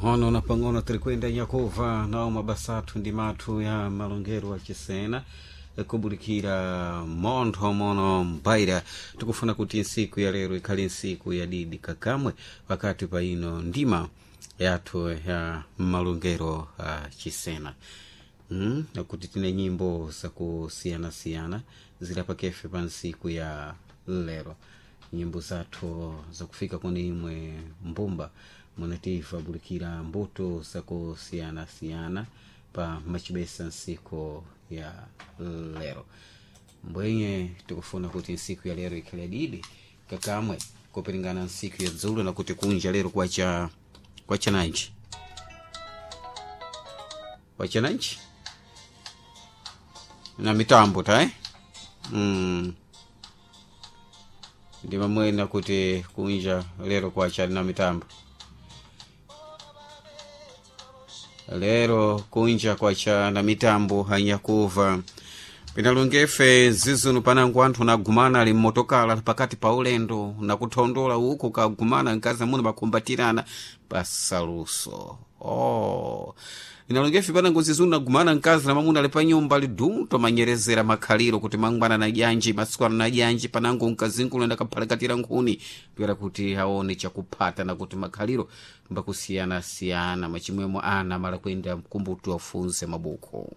Pang'ono na pang'ono tirikwenda nyakuva nawo mabasa athu ndi mathu ya malongero achisena kubulikira montho mono mbaira. Tikufuna kuti nsiku ya lero ikhale nsiku ya didi kakamwe pakati pa ino ndima yathu ya malongero achisena, Nakuti tine nyimbo zakusiyanasiyana zilapakefe pa nsiku ya lero, nyimbo zathu zakufika kuni imwe mbumba munativa bulikira mbuto zakusiyanasiyana pa machibesa nsiku ya lero. Mbwenye tikufuna kuti nsiku ya lero ikhale didi kakamwe kupiringana nsiku ya dzulo, nakuti kunja lero kwacha kwachananji kwachananji na mitambo tae, Ndi mamwena kuti kunja lero kwacha na mitambo, lero kunja kwacha na mitambo hanyakuva pinalongefe zizunu panangu anthu nagumana ali mmotokala pakati pa ulendo nakuthondola uku kagumana mkazi amuna bakumbatirana pasaluso. Oh, inalongefe panangu zizunu nagumana mkazi na mamuna ali pa nyumba ali dunto manyerezera makhaliro kuti mangwana na janji masukwana na janji panangu mkazinkulu ndakaphalakatira nkhuni kuyera kuti aone chakuphata nakuti makhaliro mbakusiyanasiyana machimwemo ana mala kuyenda mkumbutu afunse mabuku.